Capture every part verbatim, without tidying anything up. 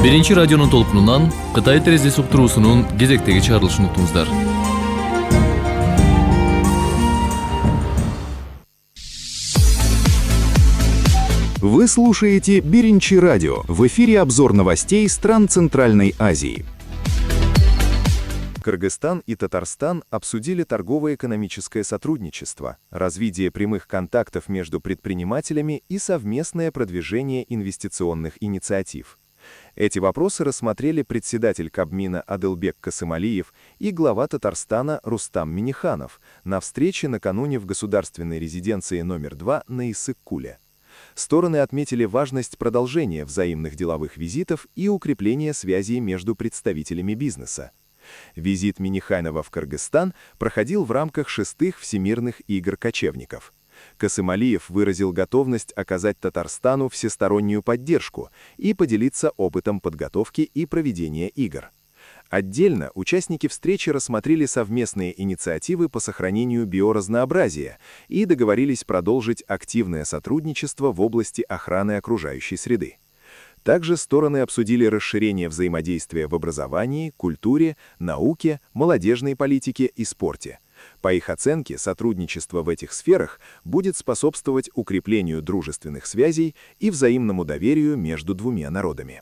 Биринчи радионун толкунунан Кытай терезеси уктуруусунун кезектеги чыгарылышын уктуңуздар. Вы слушаете Биринчи радио. В эфире обзор новостей стран Центральной Азии. Кыргызстан и Татарстан обсудили торгово-экономическое сотрудничество, развитие прямых контактов между предпринимателями и совместное продвижение инвестиционных инициатив. Эти вопросы рассмотрели председатель Кабмина Адылбек Касымалиев и глава Татарстана Рустам Минниханов на встрече накануне в государственной резиденции номер два на Иссык-Куле. Стороны отметили важность продолжения взаимных деловых визитов и укрепления связей между представителями бизнеса. Визит Минниханова в Кыргызстан проходил в рамках шестых Всемирных игр кочевников. Касымалиев выразил готовность оказать Татарстану всестороннюю поддержку и поделиться опытом подготовки и проведения игр. Отдельно участники встречи рассмотрели совместные инициативы по сохранению биоразнообразия и договорились продолжить активное сотрудничество в области охраны окружающей среды. Также стороны обсудили расширение взаимодействия в образовании, культуре, науке, молодежной политике и спорте. По их оценке, сотрудничество в этих сферах будет способствовать укреплению дружественных связей и взаимному доверию между двумя народами.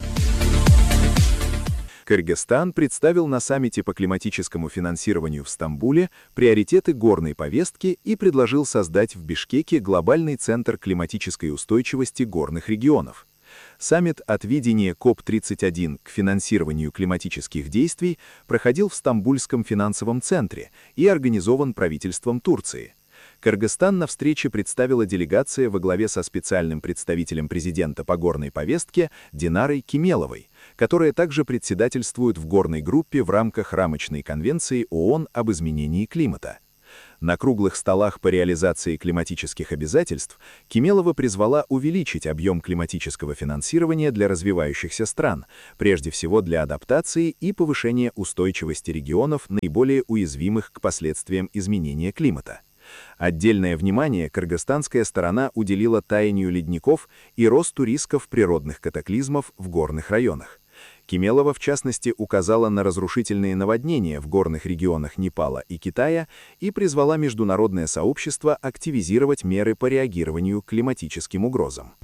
Кыргызстан представил на саммите по климатическому финансированию в Стамбуле приоритеты горной повестки и предложил создать в Бишкеке глобальный центр климатической устойчивости горных регионов. Саммит от видения коп тридцать один к финансированию климатических действий проходил в Стамбульском финансовом центре и организован правительством Турции. Кыргызстан на встрече представила делегация во главе со специальным представителем президента по горной повестке Динарой Кемеловой, которая также председательствует в горной группе в рамках рамочной конвенции ООН об изменении климата. На круглых столах по реализации климатических обязательств Кемелова призвала увеличить объем климатического финансирования для развивающихся стран, прежде всего для адаптации и повышения устойчивости регионов, наиболее уязвимых к последствиям изменения климата. Отдельное внимание кыргызстанская сторона уделила таянию ледников и росту рисков природных катаклизмов в горных районах. Кемелова, в частности, указала на разрушительные наводнения в горных регионах Непала и Китая и призвала международное сообщество активизировать меры по реагированию к климатическим угрозам.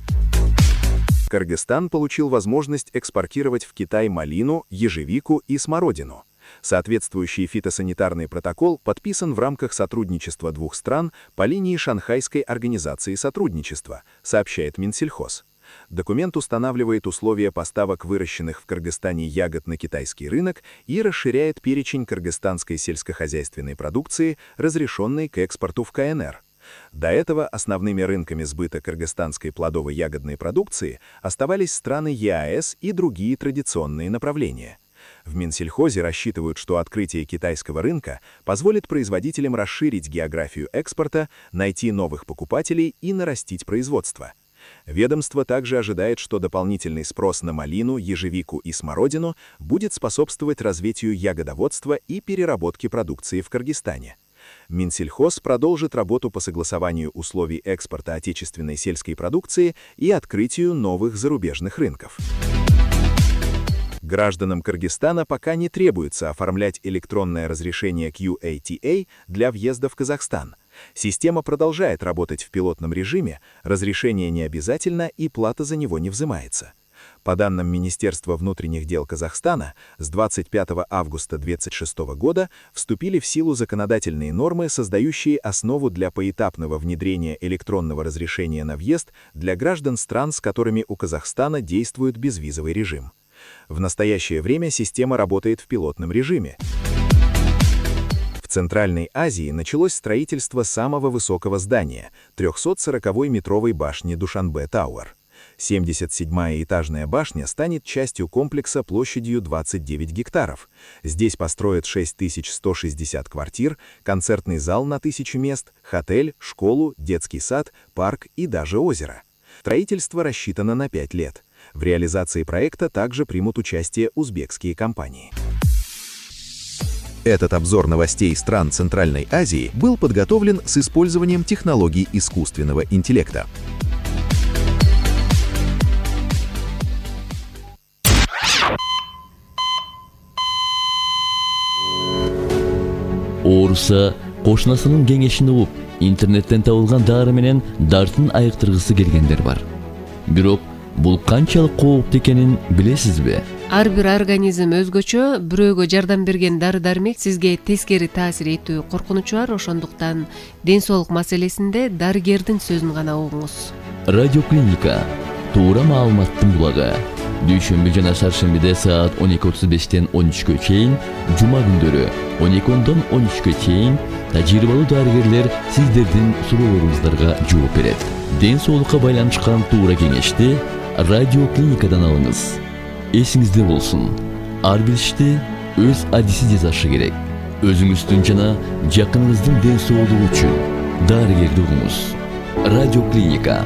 Кыргызстан получил возможность экспортировать в Китай малину, ежевику и смородину. Соответствующий фитосанитарный протокол подписан в рамках сотрудничества двух стран по линии Шанхайской организации сотрудничества, сообщает Минсельхоз. Документ устанавливает условия поставок выращенных в Кыргызстане ягод на китайский рынок и расширяет перечень кыргызстанской сельскохозяйственной продукции, разрешенной к экспорту в ка эн эр. До этого основными рынками сбыта кыргызстанской плодово-ягодной продукции оставались страны е а эс и другие традиционные направления. В Минсельхозе рассчитывают, что открытие китайского рынка позволит производителям расширить географию экспорта, найти новых покупателей и нарастить производство. Ведомство также ожидает, что дополнительный спрос на малину, ежевику и смородину будет способствовать развитию ягодоводства и переработке продукции в Кыргызстане. Минсельхоз продолжит работу по согласованию условий экспорта отечественной сельской продукции и открытию новых зарубежных рынков. Гражданам Кыргызстана пока не требуется оформлять электронное разрешение кью эй ти эй для въезда в Казахстан. Система продолжает работать в пилотном режиме, разрешение не обязательно и плата за него не взимается. По данным Министерства внутренних дел Казахстана, с двадцать пятого августа две тысячи двадцать шестого года вступили в силу законодательные нормы, создающие основу для поэтапного внедрения электронного разрешения на въезд для граждан стран, с которыми у Казахстана действует безвизовый режим. В настоящее время система работает в пилотном режиме. В Центральной Азии началось строительство самого высокого здания – трехсотсороковой метровой башни Душанбе Тауэр. семьдесят седьмая этажная башня станет частью комплекса площадью двадцать девять гектаров. Здесь построят шесть тысяч сто шестьдесят квартир, концертный зал на тысячу мест, отель, школу, детский сад, парк и даже озеро. Строительство рассчитано на пять лет. В реализации проекта также примут участие узбекские компании. Этот обзор новостей стран Центральной Азии был подготовлен с использованием технологий искусственного интеллекта. ооруса, кошунасынын кеңешин угуп, интернеттен табылган дары менен дартын айыктыргысы келгендер бар. Бирок бул канчалык кооптуу экенин билесизби? Ар бир организм өзгөчө, бирөөгө жардам берген дары-дармек сизге тескери таасир этүү коркунучу бар, ошондуктан ден соолук маселесинде дарыгердин сөзүн гана угуңуз. Радиоклиника туура маалыматтын булагы. Дүйшөмбү жана шаршембиде саат он эки отуз бештен он үчкө чейин, жума күндөрү он эки ондон он үчкө чейин тажрыйбалуу дарыгерлер сиздердин суроолоруңуздарга жооп берет. Ден соолукка байланышкан туура кеңешти радиоклиникадан алыңыз. Эсиңизде болсун, ар бир ишти өз адиси жасашы керек. Өзүңүздүн жана жакыныңыздын ден соолугу үчүн дарыгерди угуңуз. Радиоклиника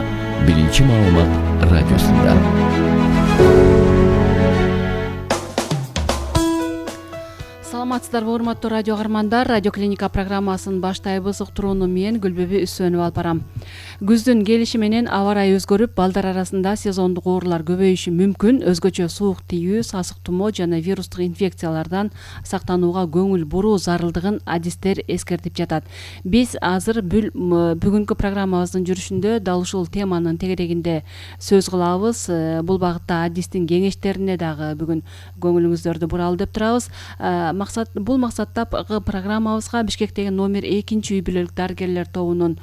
биринчи маалымат радиосунда. Саламатсыздарбы, урматтуу радио каармандар. Радиоклиника программасын баштайбыз. Уктурууну мен Гүлбөбү Үсөнүп алып барам. Күздүн келиши менен аба ырайы өзгөрүп, балдар арасында сезондук оорулар көбөйүшү мүмкүн. Өзгөчө суук тийүү, сасык тумоо жана вирустук инфекциялардан сактанууга көңүл буруу зарылдыгын адистер эскертип жатат. Биз азыр бүгүнкү программабыздын жүрүшүндө дал ушул теманын тегерегинде сөз кылабыз. Бул багытта адистин кеңештерине дагы бүгүн көңүлүңүздөрдү буралы деп турабыз. Максат бул максатта программабызга Бишкектеги номер экинчи үй бүлөлүк дарыгерлер тобунун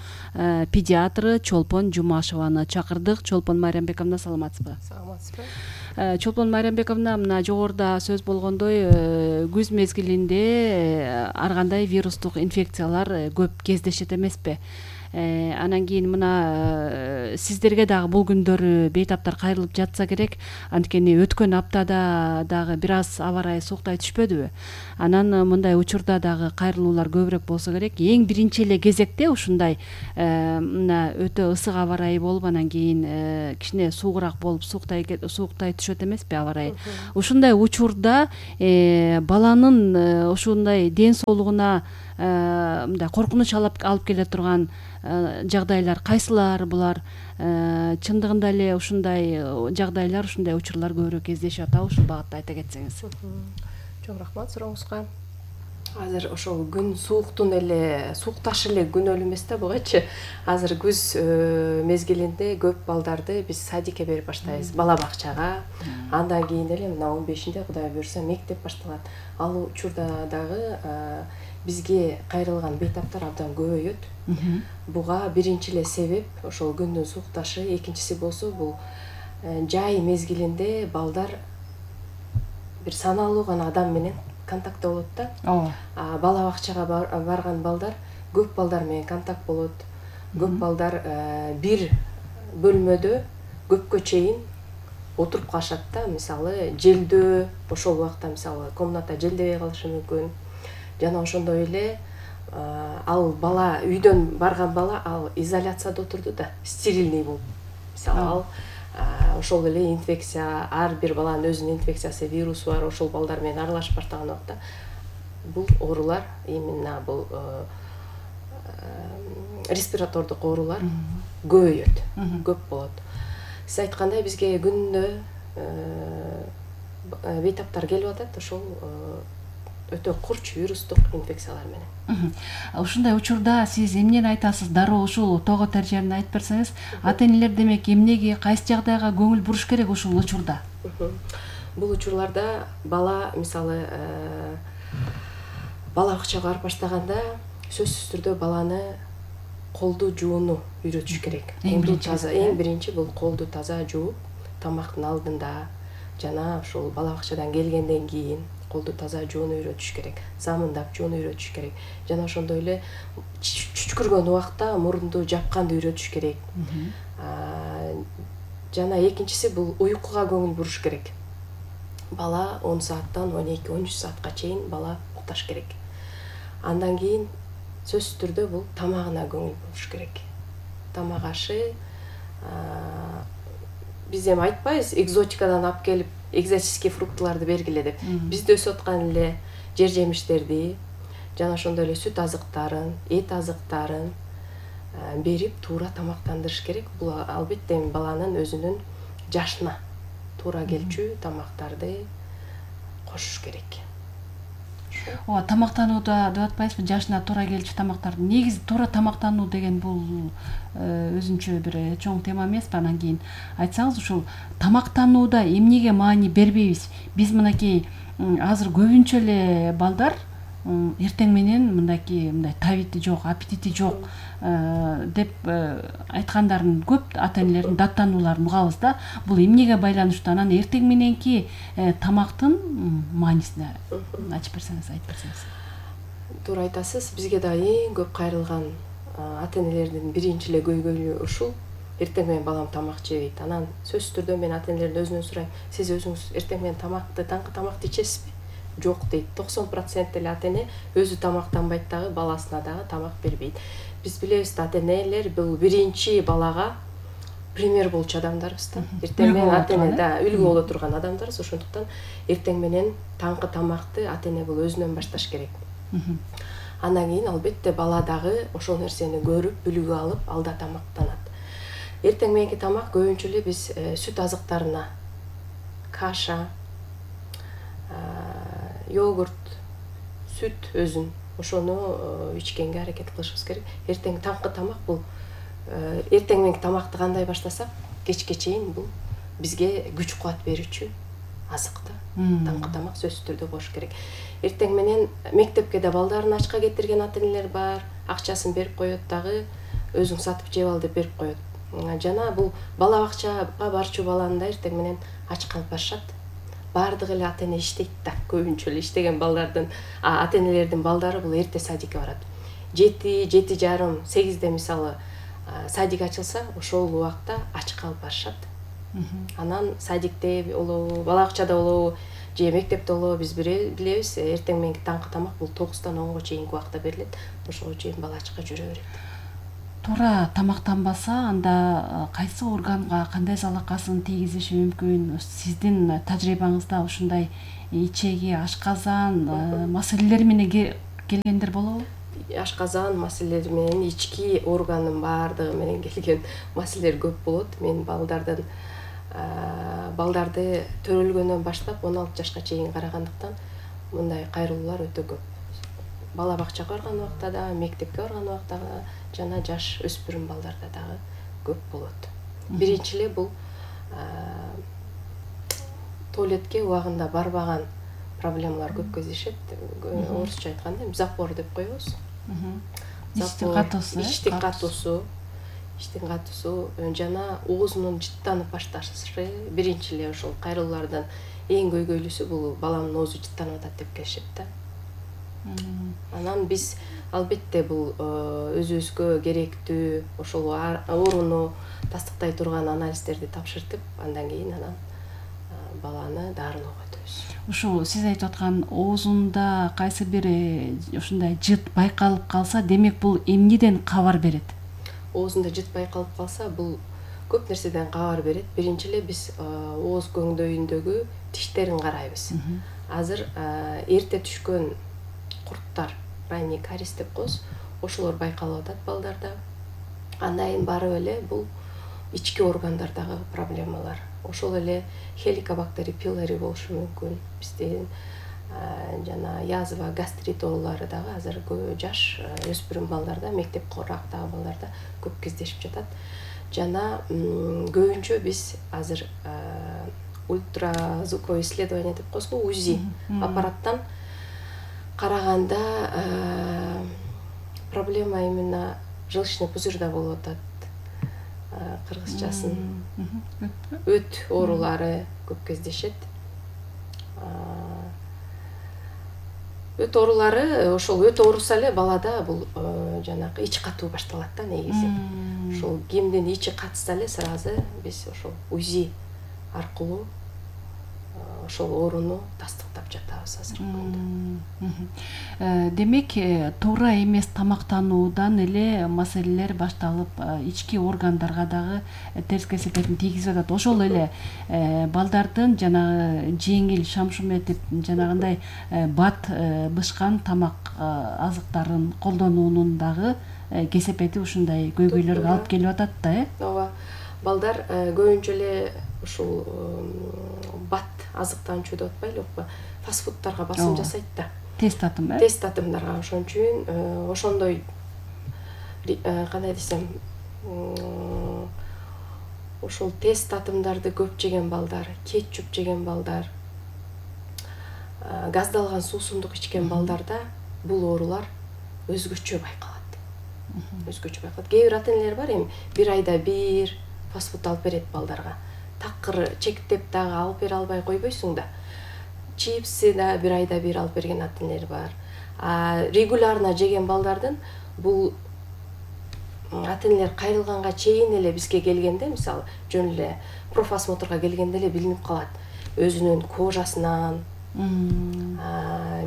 педиатры Чолпон Жумашеваны чакырдык. Чолпон Майрамбековна, саламатсызбы? Саламатсызбы. Чолпон Майрамбековна, мына жогоруда сөз болгондой, күз мезгилинде ар кандай вирустук инфекциялар көп кездешет эмеспи? Анан кийин мына сиздерге дагы бул күндөрү бейтаптар кайрылып жатса керек. Анткени өткөн аптада дагы бир аз аба ырайы сууктай түшпөдүбү? Анан мындай учурда дагы кайрылуулар көбүрөөк болсо керек. Эң биринчи эле кезекте ушундай мына өтө ысык аба ырайы болуп, анан кийин кичине суугураак болуп сууктай сууктай түшөт эмеспи аба ырайы? Ушундай учурда баланын ушундай ден соолугуна мындай коркунуч алып келе турган жагдайлар кайсылар булар? Чындыгында эле ушундай жагдайлар, ушундай учурлар көбүрөөк кездешип атабы? Ушул багытта айта кетсеңиз. Чоң рахмат сурооңузга. Азыр ошол күн сууктун эле суукташы эле күн элемес да бугачы. Азыр күз мезгилинде көп балдарды биз садикке берип баштайбыз, бала бакчага. Андан кийин эле мына он бешинде Кудай буйрса мектеп башталат. Ал учурда дагы бизге кайрылган бейтаптар абдан көбөйөт. Буга биринчи эле себеп ошол күндүн суукташы, экинчиси болсо бул жай мезгилинде балдар бир саналуу гана адам менен контактта болот да. Ооба. Бала бакчага барган балдар көп балдар менен контакт болот. Көп балдар бир бөлмөдө көпкө чейин отуруп калышат да. Мисалы, желдөө, ошол убакта мисалы комната желдебей калышы мүмкүн. Жана ошондой эле ал бала үйдөн барган бала ал изоляцияда отурду да, стерильный болуп. Мисалы ал ошол эле инфекция, ар бир баланын өзүнүн инфекциясы, вирусу бар, ошол балдар менен аралашып баштаган убакта бул оорулар, именно бул респиратордук оорулар көбөйөт, көп болот. Сиз айткандай бизге күндө бейтаптар келип атат, ошол өтө курч вирустук инфекциялар менен. Ушундай учурда сиз эмнени айтасыз? Дароо ушул того тережени айтып берсеңиз, ата-энелер демек эмнеге, кайсы жагдайга көңүл буруш керек ушул учурда? Бул учурларда бала мисалы бала бакчага барып баштаганда сөзсүз түрдө баланы колду жууну үйрөтүш керек. Колду таза, эң биринчи бул колду таза жууп, тамактын алдында жана ушул бала бакчадан келгенден кийин колду таза жууну үйрөтүш керек, замындап жууну үйрөтүш керек. Жана ошондой эле чүчкүргөн убакта мурунду жапканды үйрөтүш керек. Жана экинчиси бул уйкуга көңүл буруш керек. Бала он сааттан он эки он үч саатка чейин бала укташ керек. Андан кийин сөзсүз түрдө бул тамагына көңүл буруш керек. Тамак ашы биз эми айтпайбыз экзотикадан алып келип экзотический фруктыларды бергиле деп. Бизде өсүп аткан эле жер жемиштерди жана ошондой эле сүт азыктарын, эт азыктарын берип туура тамактандырыш керек. Бул албетте баланын өзүнүн жашына туура келчү тамактарды кошуш керек. ооба, тамактанууда деп атпайсызбы, жашына туура келчү тамактарды. Негизи туура тамактануу деген бул өзүнчө бир чоң тема эмеспи? Анан кийин айтсаңыз, ушул тамактанууда эмнеге маани бербейбиз? Биз мынакей азыр көбүнчө эле балдар эртең менен мындайки мындай табити жок, аппетити жок деп айткандарын көп ата энелердин даттанууларын угабыз да. Бул эмнеге байланыштуу? Анан эртең мененки тамактын маанисине ачып берсеңиз, айтып берсеңиз. Туура айтасыз. Бизге да эң көп кайрылган ата энелердин биринчи эле көйгөйү ушул. Эртең менен балам тамак жебейт. Анан сөзсүз түрдө мен ата энелердин өзүнөн сурайм: сиз өзүңүз эртең менен тамакты, таңкы тамакты ичесизби? Жок дейт. токсон процент эле ата эне өзү тамактанбайт дагы, баласына дагы тамак бербейт. Биз билебиз да, ата энелер бул биринчи балага пример болчу адамдарбыз да. Эртең менен ата эне да үлгү боло турган адамдарбыз. Ошондуктан эртең менен таңкы тамакты ата эне бул өзүнөн башташ керек. Андан кийин албетте бала дагы ошол нерсени көрүп, үлгү алып, алда тамактанат. Эртең мененки тамак көбүнчө эле биз сүт азыктарына, каша, йогурт, сүт өзүн ошону ичкенге аракет кылышыбыз керек. Эртең таңкы тамак бул эртең мененки тамакты кандай баштасак, кечке чейин бул бизге күч кубат берүүчү азык да. Таңкы тамак сөзсүз түрдө болуш керек. Эртең менен мектепке да балдарын ачка кетирген ата энелер бар. Акчасын берип коет дагы, өзүң сатып жеп ал деп берип коет. Жана бул бала бакчага барчу баланы да эртең менен ач калып барышат. Бардык эле ата эне иштейт да, көбүнчө эле иштеген балдардын, ата энелердин балдары бул эрте садикке барат. жети, жети жарым, сегизде мисалы садик ачылса, ошол убакта ач калып барышат. Анан садикте болобу, бала бакчада болобу, же мектепте болобу, биз билебиз, эртең мененки таңкы тамак бул тогуздан онго чейинки убакта берилет. Ошого чейин бала ачка жүрө берет. Туура тамактанбаса, анда кайсы органга кандай залакасын тийгизиши мүмкүн? Сиздин тажрыйбаңызда ушундай ичеги, ашказан маселелери менен келгендер болобу? Ашказан маселелери менен, ички органдын баардыгы менен келген маселелер көп болот. Мен балдардын балдарды төрөлгөндөн баштап он алты жашка чейин карагандыктан мындай кайрылуулар өтө көп. Бала бакчага барган убакта да, мектепке барган убакта да, жана жаш өспүрүм балдарда дагы көп болот. Биринчи эле бул туалетке убагында барбаган проблемалар көп кездешет. Орусча айтканда запор деп коебуз. Иштин катуусу, иштин катуусу, иштин катуусу жана оозунун жыттанып башташы биринчи эле ошол кайрылуулардан эң көйгөйлүүсү бул баламдын оозу жыттанып атат деп келишет да. Анан биз албетте бул өзүбүзгө керектүү ошол ооруну тастыктай турган анализдерди тапшыртып, андан кийин анан баланы дарылоого өтөбүз. Ушул сиз айтып аткан оозунда кайсы бир ушундай жыт байкалып калса, демек бул эмнеден кабар берет? Оозунда жыт байкалып калса, бул көп нерседен кабар берет. Биринчи эле биз ооз көңдөйүндөгү тиштерин карайбыз. Азыр эрте түшкөн курттар, ранний кариес деп коебуз, ошолор байкалып атат балдарда. Андан кийин барып эле бул ички органдардагы проблемалар. Ошол эле хеликобактери пилори болушу мүмкүн. Биздин жана язва, гастрит оорулары дагы азыр жаш өспүрүм балдарда, мектеп курактагы балдарда көп кездешип жатат. Жана көбүнчө биз азыр ультразвуковое исследование деп коебуз, УЗИ аппараттан караганда проблема именно желчный пузырьда болуп атат. Кыргызчасын өт оорулары көп кездешет. Өт оорулары, ошол өт ооруса эле балада бул жанагы ич катуу башталат да негизи. Ошол кимдин ичи катса эле сразу биз ошол УЗИ аркылуу ошол ооруну тастыктап жатабыз азыркы күндө. Демек, туура эмес тамактануудан эле маселелер башталып, ички органдарга дагы терс кесепетин тийгизип атат. Ошол эле балдардын жанагы жеңил шамшум этип, жанагындай бат бышкан тамак азыктарын колдонуунун дагы кесепети ушундай көйгөйлөргө алып келип атат да, э? Ооба. Балдар көбүнчө эле ушул бат азыктанчу деп атпайлы, фастфудтарга басым жасайт да. тест атым э тест атымдарга. Ошон үчүн ошондой кандай десем, ошол тест атымдарды көп жеген балдар, кетчуп жеген балдар, газдалган суусундук ичкен балдарда бул оорулар өзгөчө байкалат. Өзгөчө байкалат. Кээ бир ата-энелер бар, эми бир айда бир фастфуд алып берет балдарга. Такыр чектеп дагы алып бере албай койбойсуң да. Чипсы да бир айда бир алып берген ата-энелер бар. А регулярно жеген балдардын бул ата-энелер кайрылганга чейин эле бизге келгенде, мисалы, жөн эле профосмотрга келгенде эле билинип калат. Өзүнүн кожасынан,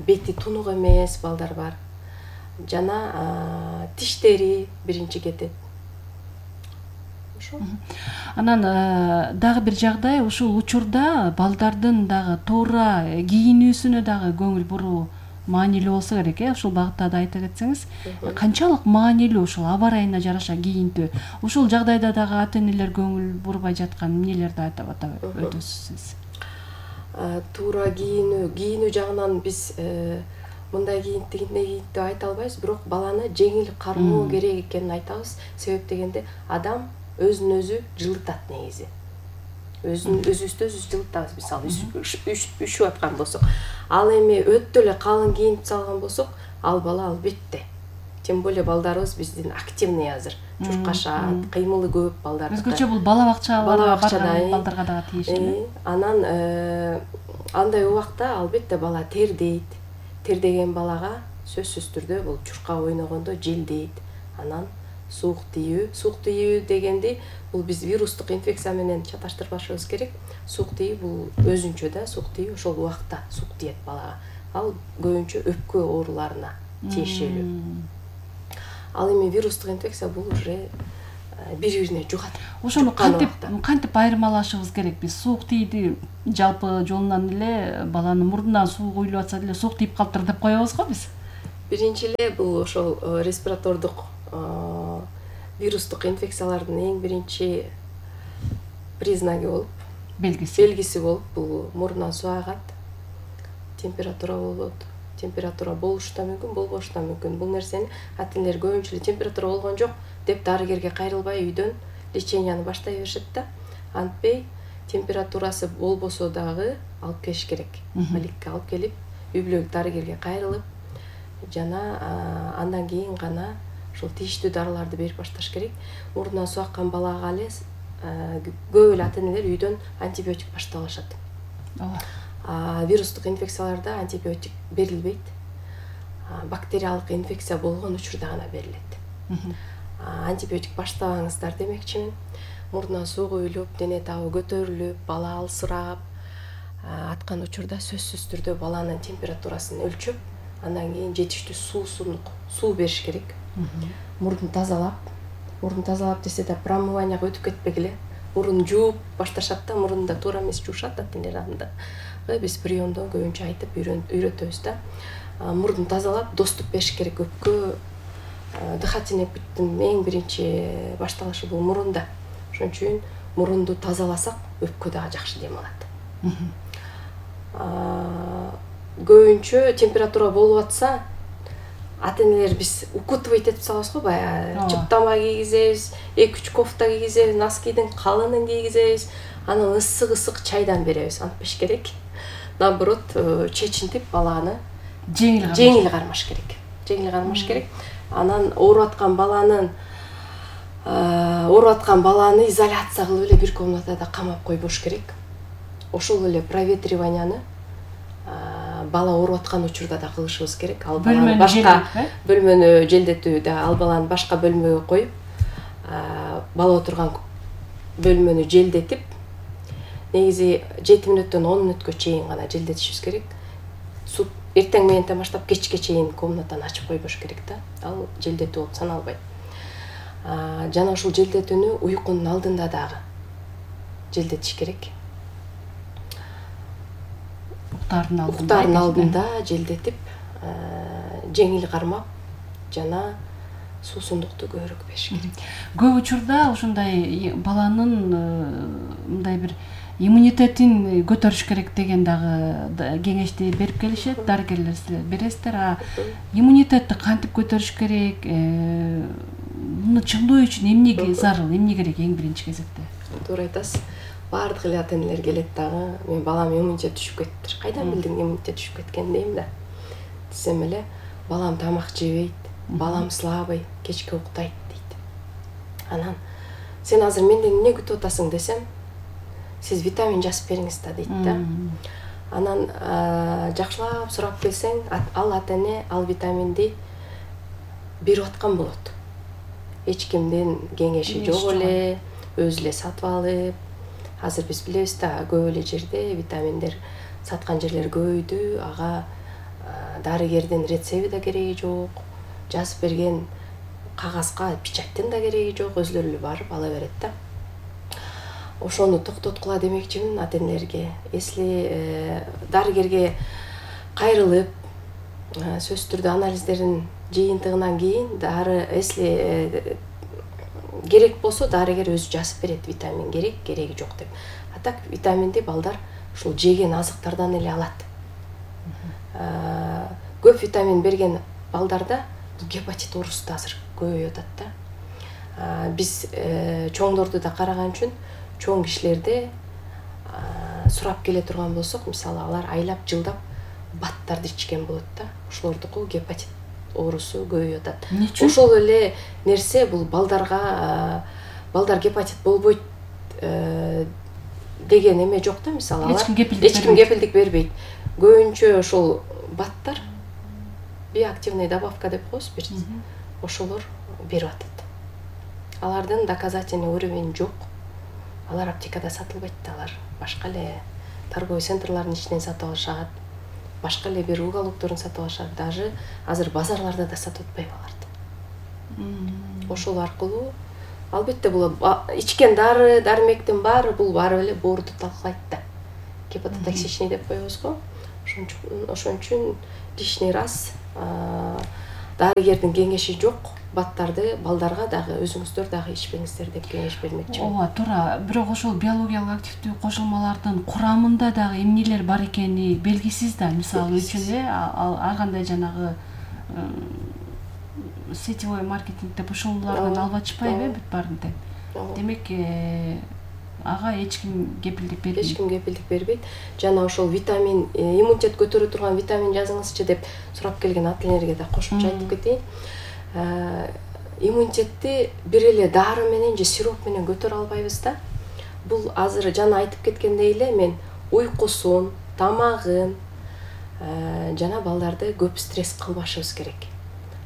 бети тунук эмес балдар бар. Жана тиштери биринчи кетет. Ошо. Анан дагы бир жагдай, ушул учурда балдардын дагы туура кийинүүсүнө дагы көңүл буруу маанилүү болсо керек э. Ушул багытта да айта кетсеңиз, канчалык маанилүү ушул аба ырайына жараша кийинтүү? Ушул жагдайда дагы ата-энелер көңүл бурбай жаткан эмнелерди айтып атап өтөсүз? Туура кийинүү, кийинүү жагынан биз мындай кийинт дегенде кийинт деп айта албайбыз, бирок баланы жеңил кармоо керек экенин айтабыз. Себеп дегенде адам өзүн өзү жылытат негизи. Өзүн өзүбүздү өзүбүз жылытабыз, мисалы үшүп аткан болсок. Ал эми өтө эле калың кийинип салган болсок, ал бала албетте. Тем более балдарыбыз биздин активный азыр. Чуркашат, кыймылы көп балдар. Өзгөчө бул бала бакчаларга барган балдарга дагы тийиштүү. Анан андай убакта албетте бала тердейт. Тердеген балага сөзсүз түрдө бул чурка ойногондо желдейт. Анан суук тийүү, суук тийүү дегенди бул биз вирустук инфекция менен чаташтырбашыбыз керек. Суук тийүү бул өзүнчө да суук тийүү ошол убакта суук тиет балага. Ал көбүнчө өпкө ооруларына тиешелүү. Ал эми вирустук инфекция бул уже бири-бирине жугат. Ошону кантип кантип айырмалашыбыз керек? Биз суук тийди жалпы жолунан эле баланын мурдунан суу куюлуп атса деле суук тийип калыптыр деп коебуз го биз. Биринчи эле бул ошол респиратордук вирустук инфекциялардын эң биринчи признаги болуп, белгиси белгиси болуп бул мурунан суу агат, температура болот. Температура болушу да мүмкүн, болбошу да мүмкүн. Бул нерсени ата-энелер көбүнчө эле температура болгон жок деп дарыгерге кайрылбай үйдөн леченияны баштай беришет да. Антпей температурасы болбосо дагы алып келиш керек. Баликке алып келип, үй бүлөлүк дарыгерге кайрылып, жана андан кийин гана ошол тийиштүү дарыларды берип башташ керек. Мурунан суу аккан балага эле көп эле ата-энелер үйдөн антибиотик баштап алышат. Ооба. Вирустук инфекцияларда антибиотик берилбейт. Бактериялык инфекция болгон учурда гана берилет. Антибиотик баштабаңыздар демекчимин. Мурдунан суу куюлуп, дене табы көтөрүлүп, бала алсырап аткан учурда сөзсүз түрдө баланын температурасын өлчөп, андан кийин жетиштүү суусундук суу бериш керек. Мурдун тазалап, мурдун тазалап десе да промыванияга өтүп кетпегиле. Мурун жууп башташат да, мурунда туура эмес жуушат ата-энелер анда. Биз приемдон көбүнчө айтып үйрөтөбүз да. Мурдун тазалап, доступ бериш керек. Өпкө дыхательный путтун эң биринчи башталышы бул мурунда. Ошон үчүн мурунду тазаласак, өпкө дагы жакшы дем алат. Көбүнчө температура болуп атса, ата-энелер биз укутывать этип салабыз го, баягы чыптама кийгизебиз, эки үч кофта кийгизебиз, носкидин калынын кийгизебиз, анан ысык-ысык чайдан беребиз. Антпеш керек. Наоборот, чечинтип баланы жеңил кармаш керек. Жеңил кармаш керек. Анан ооруп аткан баланын ооруп аткан баланы изоляция кылып эле бир комнатада камап койбош керек. Ошол эле проветриванияны бала ооруп аткан учурда да кылышыбыз керек. Ал баланы башка бөлмөнү желдетүү да, ал баланы башка бөлмөгө коюп, бала отурган бөлмөнү желдетип, негизи жети мүнөттөн он мүнөткө чейин гана желдетишибиз керек. Суп эртең мененден баштап кечке чейин комнатаны ачып койбош керек да. Ал желдетүү болуп саналбайт. Жана ушул желдетүүнү уйкунун алдында дагы желдетиш керек. Уктаардын алдында. Уктаардын алдында желдетип, жеңил кармап, жана суусундукту көбүрөөк бериш керек. Көп учурда ушундай баланын мындай бир иммунитетин көтөрүш керек деген дагы кеңешти берип келишет дарыгерлер, силер бересиздер. А иммунитетти кантип көтөрүш керек, муну чыңдоо үчүн эмне зарыл, эмне керек эң биринчи кезекте? Туура айтасыз. Баардык эле ата-энелер келет дагы, мен балам иммунитет түшүп кетиптир. Кайдан билдиң иммунитет түшүп кеткенин дейм да. Десем эле, балам тамак жебейт, балам слабый, кечке уктайт дейт. Анан сен азыр менден эмне күтүп атасың десем, сиз витамин жазып бериңиз да дейт да. Анан жакшылап сурап келсең, ал ата-эне ал витаминди берип аткан болот. Эч кимдин кеңеши жок эле, өзү эле сатып алып. Азыр биз билебиз да, көп эле жерде витаминдер саткан жерлер көбөйдү. Ага дарыгердин рецепти да кереги жок, жазып берген кагазга печаттын да кереги жок, өзүлөрү эле барып ала берет да. Ошону токтоткула демекчимин ата-энелерге. Если дарыгерге кайрылып, сөзсүз түрдө анализдерин жыйынтыгынан кийин дары, если керек болсо дарыгер өзү жазып берет, витамин керек, кереги жок деп. А так витаминди балдар ушул жеген азыктардан эле алат. Көп витамин берген балдарда гепатит оорусу да азыр көбөйүп атат да. Биз чоңдорду да караган үчүн чоң кишилерде сурап келе турган болсок, мисалы алар айлап жылдап баттарды ичкен болот да. Ошолордуку гепатит оорусу көбөйүп атат. Ошол эле нерсе бул балдарга, балдар гепатит болбойт деген эме жок да, мисалы алар эч ким кепилдик бербейт. Көбүнчө ошол баттар биоактивный добавка деп коебуз, ошолор берип атат. Алардын доказательный уровень жок. Алар аптекада сатылбайт да, алар башка эле торговый центрлардын ичинен сатып алышат. Башка эле бир уголокторун сатып алышат. Даже азыр базарларда да сатып атпайбы аларды. Ошол аркылуу албетте бул ичкен дары, дармектин баары бул баары эле боорду талкалайт да. Гепатотоксичный деп коебуз го. Ошон үчүн лишний раз дарыгердин кеңеши жок баттарды балдарга дагы өзүңүздөр дагы ичпеңиздер деп кеңеш бермекчимин. Ооба, туура. Бирок ошол биологиялык активдүү кошулмалардын курамында дагы эмнелер бар экени белгисиз да. Мисалы үчүн э ар кандай жанагы сетевой маркетингде ошолордон алып ачпайбы э бүт баарын тең. Демек ага эч ким кепилдик бербейт. Эч ким кепилдик бербейт. Жана ошол витамин, иммунитет көтөрө турган витамин жазыңызчы деп сурап келген ата-энелерге да кошумча айтып кетейин. Иммунитетти бир эле дары менен же сироп менен көтөрө албайбыз да. Бул азыр жана айтып кеткендей эле мен уйкусун, тамагын жана балдарды көп стресс кылбашыбыз керек.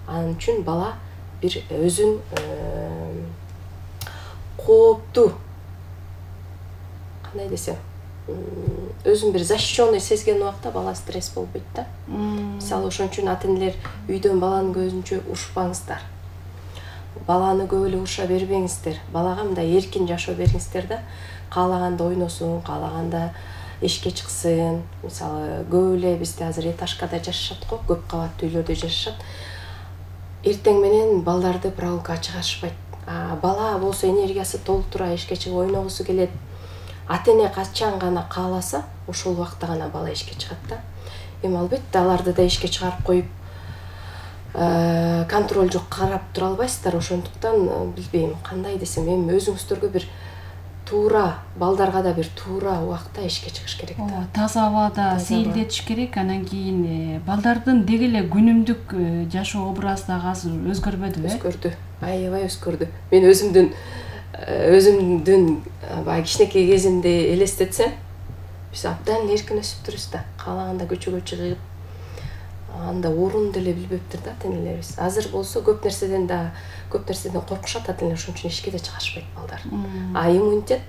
Анын үчүн бала бир өзүн кооптуу, кандай десем, өзүн бир защищенный сезген убакта бала стресс болбойт да. Мисалы ошон үчүн ата-энелер үйдөн баланын көзүнчө урушпаңыздар. Баланы көп эле уруша бербеңиздер. Балага мындай эркин жашоо бериңиздер да. Каалаганда ойносун, каалаганда эшикке чыксын. Мисалы көп эле бизде азыр этажкада жашашат го, көп кабаттуу үйлөрдө жашашат. Эртең менен балдарды прогулкага чыгарышпайт. Бала болсо энергиясы толтура эшикке чыгып ойногусу келет. Ата-эне качан гана кааласа, ошол убакта гана бала эшикке чыгат да. Эми албетте аларды да эшикке чыгарып коюп, контроль жок карап тура албайсыздар. Ошондуктан билбейм, кандай десем, эми өзүңүздөргө бир туура, балдарга да бир туура убакта эшикке чыгыш керек да. Ооба, таза абада сейилдетиш керек. Анан кийин балдардын деги эле күнүмдүк жашоо образы дагы азыр өзгөрбөдүбү э? Өзгөрдү. Аябай өзгөрдү. Мен өзүмдүн өзүмдүн баягы кичинекей кезимди элестетсем, биз абдан эркин өсүптүрбүз да. Каалаганда көчөгө чыгып, анда орун деле билбептир да ата-энелерибиз. Азыр болсо көп нерседен да, көп нерседен коркушат ата-энелер, ошон үчүн эшикке да чыгарышпайт балдар. А иммунитет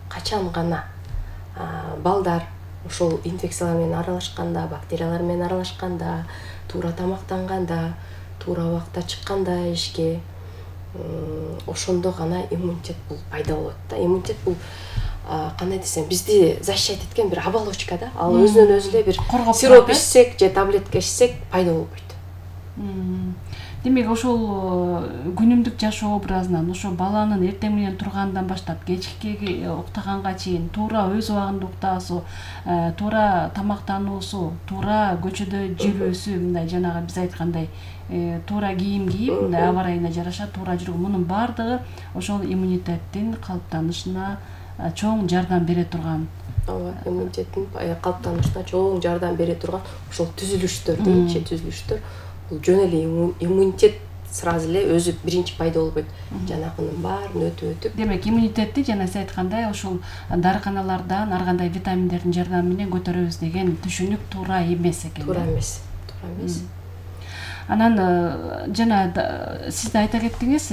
качан гана балдар ошол инфекциялар менен аралашканда, бактериялар менен аралашканда, туура тамактанганда, туура убакта чыкканда эшикке, ошондо гана иммунитет бул пайда болот да. Иммунитет бул кандай десем, бизди защищать эткен бир оболочка да. Ал өзүнөн өзү эле бир сироп ичсек же таблетка ичсек пайда болбойт. демек ошол күнүмдүк жашоо образынан ошо баланын эртең менен тургандан баштап кечки уктаганга чейин туура өз убагында уктаасу, туура тамактануусу, туура көчөдө жүрүүсү, мындай жанагы биз айткандай туура кийим кийип, мындай аба ырайына жараша туура жүрүү, мунун баардыгы ошол иммунитеттин калыптанышына чоң жардам бере турган. Ооба, иммунитеттин калыптанышына чоң жардам бере турган ошол түзүлүштөр дейинчи, түзүлүштөр. Бул жөн эле иммунитет сразу эле өзү биринчи пайда болбойт. Жанагынын баарын өтүп өтүп. Демек, иммунитетти жана сиз айткандай ошол дарыканалардан ар кандай витаминдердин жардамы менен көтөрөбүз деген түшүнүк туура эмес экен. Туура эмес. Туура эмес. Анан жана сиз да айта кеттиңиз,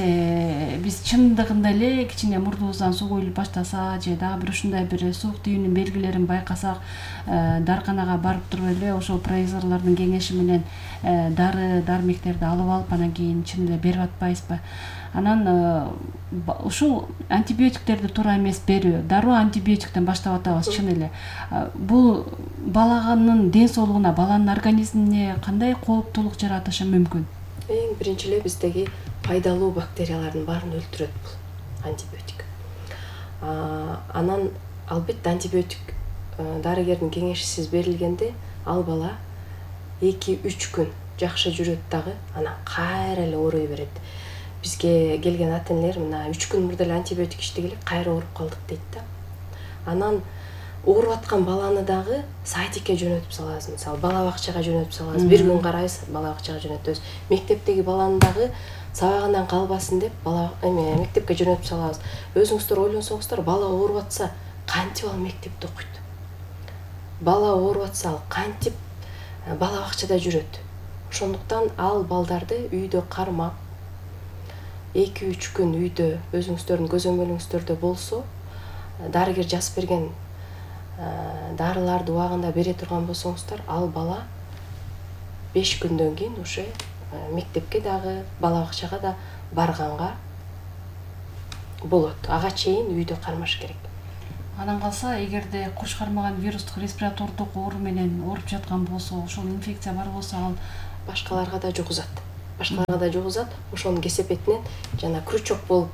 биз чындыгында эле кичине мурдубуздан суу куюлуп баштаса же дагы бир ушундай бир суук тийүүнүн белгилерин байкасак, дарыканага барып туруп эле ошол провизорлордун кеңеши менен дары дармектерди алып алып анан кийин чын эле берип атпайбызбы? Анан ушул антибиотиктерди туура эмес берүү, дароо антибиотиктен баштап атабыз чын эле. Бул баланын ден соолугуна, баланын организмине кандай кооптулук жаратышы мүмкүн? Эң биринчи эле биздеги пайдалуу бактериялардын баарын өлтүрөт бул антибиотик. Анан албетте антибиотик дарыгердин кеңешисиз берилгенде ал бала эки үч күн жакшы жүрөт дагы, анан кайра эле ооруй берет. Бизге келген ата-энелер мына үч күн мурда эле антибиотик иштегеле кайра ооруп калдык дейт да. Анан ооруп аткан баланы дагы садикке жөнөтүп салабыз, мисалы бала бакчага жөнөтүп салабыз. Бир күн карайбыз, бала бакчага жөнөтөбүз. Мектептеги баланы дагы сабагынан калбасын деп бала эме мектепке жөнөтүп салабыз. Өзүңүздөр ойлонсоңуздар, бала ооруп атса, кантип ал мектепте окуйт? Бала ооруп атса, ал кантип бала бакчада жүрөт? Ошондуктан ал балдарды үйдө кармап эки үч күн үйдө өзүңүздөрдүн көзөмөлүңүздөрдө болсо, дарыгер жазып берген дарыларды убагында бере турган болсоңуздар, ал бала беш күндөн кийин уже мектепке дагы, бала бакчага да барганга болот. Ага чейин үйдө кармаш керек. Анан калса, эгерде куш кармаган вирустук респиратордук оору менен ооруп жаткан болсо, ошол инфекция бар болсо, ал башкаларга да жугузат. Башкаларга да жугузат. Ошонун кесепетинен жана крючок болуп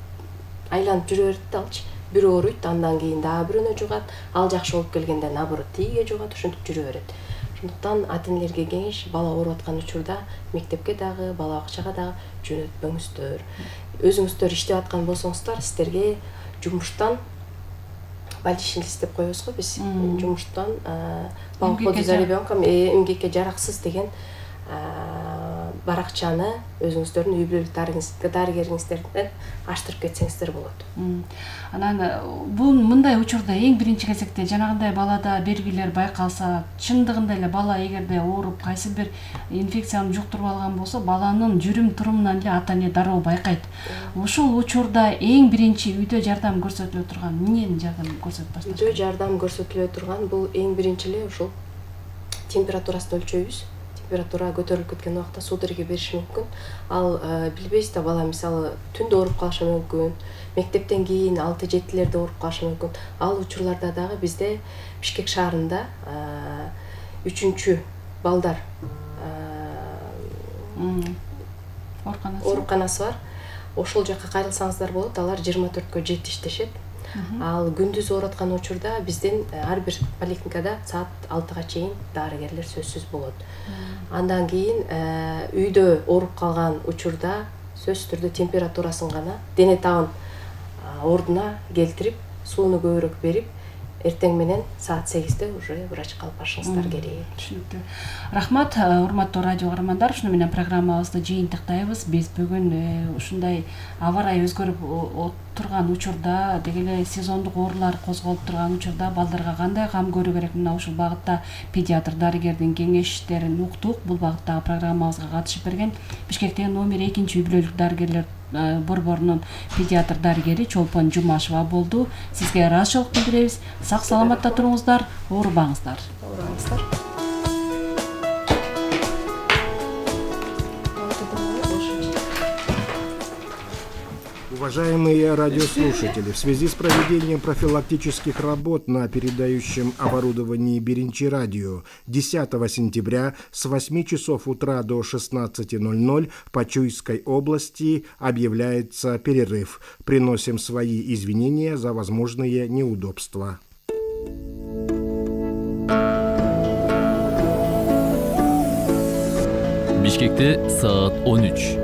айланып жүрө берет да алчы. Бир ооруйт, андан кийин дагы бирөөнө жугат. Ал жакшы болуп келгенде наоборот тиге жугат, ошентип жүрө берет. Ошондуктан ата-энелерге кеңеш, бала ооруп аткан учурда мектепке дагы, бала бакчага дагы жөнөтпөңүздөр. Өзүңүздөр иштеп аткан болсоңуздар, сиздерге жумуштан больничный лист деп коебуз го биз. Жумуштан по уходу за ребенком эмгекке жараксыз деген баракчаны өзүңүздөрдүн үй бүлөлүк дарыгериңиздерден аштырып кетсеңиздер болот. Анан бул мындай учурда эң биринчи кезекте жанагындай балада белгилер байкалса, чындыгында эле бала эгерде ооруп, кайсы бир инфекцияны жуктуруп алган болсо, баланын жүрүм турумунан эле ата-эне дароо байкайт. Ошол учурда эң биринчи үйдө жардам көрсөтүлө турган, эмнени жардам көрсөтүп башташ? Үйдө жардам көрсөтүлө турган бул эң биринчи эле ошол температурасын өлчөйбүз. Температура көтөрүлүп кеткен убакта судороги бериши мүмкүн. Ал билбейсиз да, бала мисалы түндө ооруп калышы мүмкүн. Мектептен кийин алты жетилерде ооруп калышы мүмкүн. Ал учурларда дагы бизде Бишкек шаарында үчүнчү балдар ооруканасы бар. Ошол жака кайрылсаңыздар болот. Алар жыйырма төрткө жети иштешет. Ал күндүз ооруп аткан учурда бизден ар бир поликлиникада саат алтыга чейин дарыгерлер сөзсүз болот. Андан кийин үйдө ооруп калган учурда сөзсүз түрдө температурасын гана, дене табын ордуна келтирип, сууну көбүрөөк берип, эртең менен саат сегизде уже врачка алып барышыңыздар керек. Түшүнүктүү. Рахмат, урматтуу радио каармандар. Ушуну менен программабызды жыйынтыктайбыз. Биз бүгүн ушундай аба ырайы өзгөрүп турган учурда, деги эле сезондук оорулар козголуп турган учурда балдарга кандай кам көрүү керек, мына ушул багытта педиатр дарыгердин кеңештерин уктук. Бул багыттагы программабызга катышып берген Бишкектеги номер экинчи үй бүлөлүк дарыгерлер борборунун педиатр дарыгери Чолпон Жумашева болду. Сизге ыраазычылык билдиребиз. Сак саламатта туруңуздар, оорубаңыздар. Оорубаңыздар. Уважаемые радиослушатели, в связи с проведением профилактических работ на передающем оборудовании Биринчи радио десятого сентября с восьми часов утра до шестнадцати ноль-ноль по Чуйской области объявляется перерыв. Приносим свои извинения за возможные неудобства. Бишкекте саат он үч.